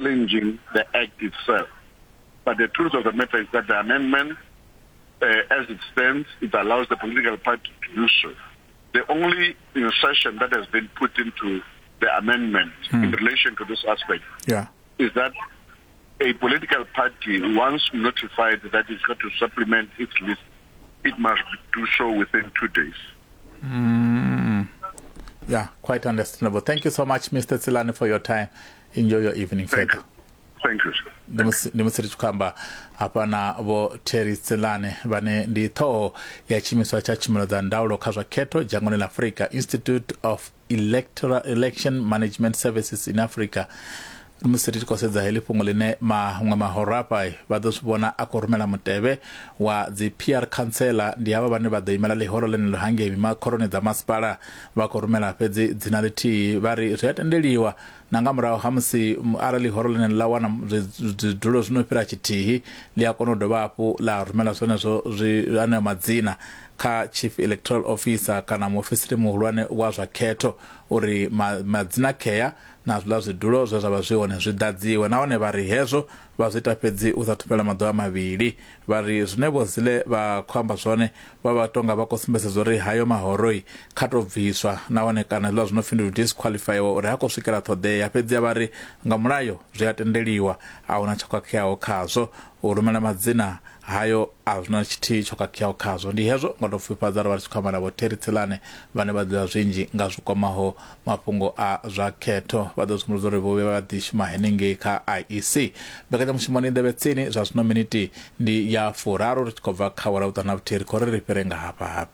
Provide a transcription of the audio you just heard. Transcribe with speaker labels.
Speaker 1: Challenging the act itself. But the truth of the matter is that the amendment, as it stands, it allows the political party to do so. The only insertion that has been put into the amendment in relation to this aspect is that a political party, once notified that it's got to supplement its list, it must do so within 2 days.
Speaker 2: Yeah, quite understandable. Thank you so much, Mr. Tselane, for your time. Enjoy your evening
Speaker 1: Thank
Speaker 2: further.
Speaker 1: you. Thank you, sir.
Speaker 2: Ndi musi ndi musi ri tshi khou amba hafha na vho Terry Tselane vhane ndi ṱhoho ya tshiimiswa tsha tshumelo dza ndaulo kha zwa khetho dzhangoni ḽa Afrika, Institute of Electoral Election Management Services in Africa. Musi ri tshi khou sedza heḽi fhungo ḽine maṅwe mahoro afha vha ḓo zwi vhona a khou rumela mutevhe wa dzi PR councillor, ndi havha vhane vha ḓo imela ḽihoro ḽeneḽo hangei mimakhoroni dza masipala, vha khou rumela fhedzi dzina ḽithihi. Vha ri zwi a tendeliwa na nga murahu ha musi arali ḽihoro ḽeneḽo ḽa wana zwidulo zwi no fhira tshithihi, ḽi a kona u dovha hafhu ḽa rumela zwenezwo zwi aneo madzina kha Chief Electoral Officer kana muofisiri muhulwane wa zwa khetho uri madzina khea na zwiḽa zwidulo zwe zwa vha zwi hone zwi ḓadziwe. Nahone vha ri hezwo vha zwi ita fhedzi u sa thu fhela maḓuvha mavhili. Vha ri zwine Vho Zille vha khou amba zwone vha vha tonga vha khou sumbedzisa uri hayo mahoroi kha tou bviswa nahone kana hezwiḽa zwi no pfi ndi u disqualifyiwa uri ha khou swikela ṱhoḓea. Fhedzi vha ri nga mulayo zwi a tendeliwa, a huna tsho khakheaho khazwo. U rumela madzina hayo a zwi na tshithihi tsho khakheaho khazwo. Ndi hezwo nga tou pfufhifhadza ro vha ri tshi khou amba na Vho Terry Tselane vhane vha ḓivha zwinzhi nga zwi kwamaho mafhungo a zwa khetho. Vha ḓo sumbedza uri vho vhuya vha ḓi shuma henengei kha IEC. Mbekanyamushumo ni nḓevhe tsini zwa zwino miniti ndi ya furaru ri tshi khou bva kha awara vhuṱanu na vhuthihi ri khou ri ri fhire nga hafha hafhu.